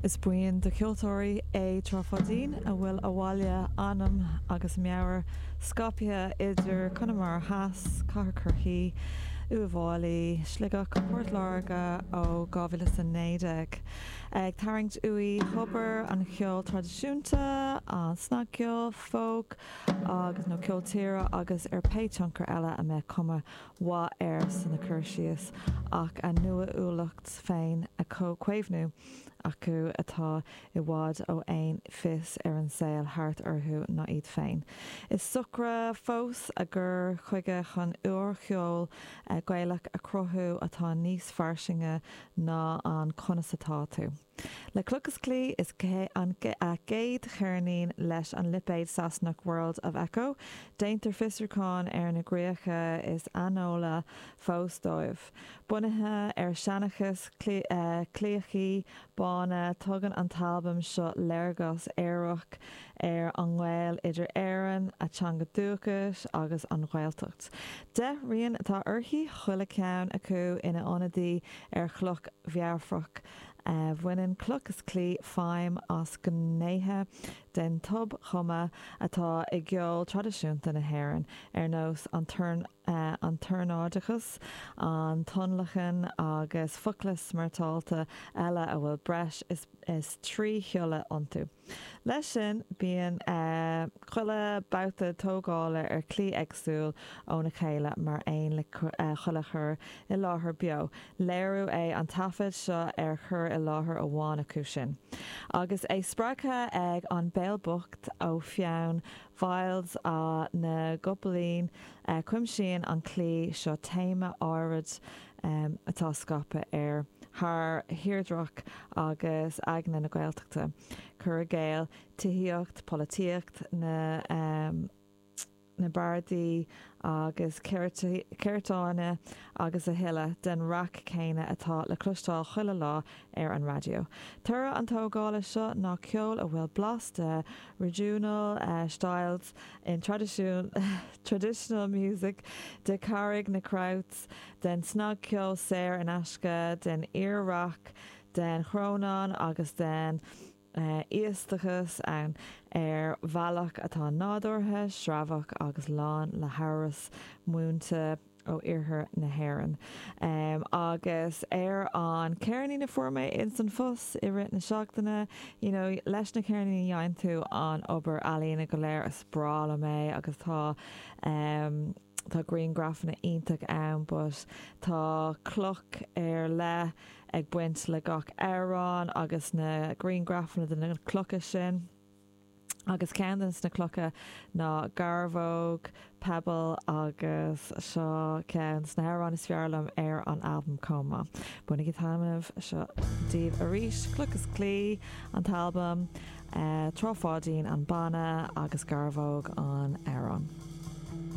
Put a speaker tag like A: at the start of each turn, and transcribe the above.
A: Is buíon de cheoltóirí é Trá Pháidín a bhfuil a bhaile, anam agus meabhair scaipthe idir Conamara Theas, Cathair Chorcaí, Uíbh Fhailí, Sligeach, Port Láirge ó 2019. Ag tarraingt uaidh thobar an cheoil traidisiúnta, an snagcheol, folk agus nó ceol tíre agus ar pé tionchar eile a mbeadh cuma mhaith air sna cur síos ach a n-uathúlacht féin á caomhnú acu atá i bhfad ó aon fios ar an saol thart orthu ná iad féin. Is socra fós a gcur chuige chun úrcheol Gaelach a chruthú atá níos fairsinge ná an 'conas atá tú? Le Cloch is Claí is an gcéad cheirnín leis an lipéad Sasanach World of Echo. Déantar fiosrúchán ar na gcríocha is aineolaí fós dóibh. Bunaithe ar sheanchas claíochaí bána, tugann an t-albam seo léargas aorach ar an ngaol idir Éirinn, a teanga dúchais agus an Ghaeltacht. 10 rian atá uirthi, chuile cheann acu ina ionadaí ar chloch mheafarach. Baineann Cloch is Claí feidhm as gnéithe den tobchumadh atá i gceol traidisiúnta na hÉireann, ar nós an an t-ornáideachas, an tionlacan agus focla smeairteáilte eile a bhfuil breis is 3 shiolla iontu. Leis sin, bíonn chuile babhta tógála ar shlí éagsúil óna chéile mar aon le chuile chur i láthair beo. Léiriú é an taifead seo ar chur i láthair amháin acu sin. Agus é spreagtha ag An Béal Bocht ó pheann Mhyles na gCopaleen, cuimsíonn an claí seo téama áirid atá scaipthe ar thar thírdhreach agus aigne na Gaeltachta, cur i gcéill, tithíocht, polaitíocht, na na bardaí agus ceirtleáin agus a thuilleadh den raic céanna atá le cloisteáil chuile lá ar an raidió. Toradh an tógála seo ná ceol a bhfuil blas de regional styles in traditional music, de Carraig na Krauts, den snagcheol saor in aisce, den fhíor-rac, den chrónán agus den íostachas ann ar bhealach atá nádúrtha, sreabhach agus lán le hamhras múinte ó iarthar na hÉireann. Agus ar an ceirnín a fuair mé ins an phost i rith na seachtaine, you know, leis na ceirníní a dhéanann tú an obair ealaíne go léir, is breá liom é agus tá tá grianghrafanna iontach ann but tá cloch ar leith ag baint le gach amhrán agus na grianghrafanna de na clocha sin. Agus ceann de na clocha ná Garbhóg, Pebble, agus seo ceann de na hamhráin is fearr liom ar an albam chomh maith. Bainigí taitneamh, seo daoibh arís Cloch is Claí, an t-albam, Trá Pháidín, an banna, agus Garbhóg, an amhrán.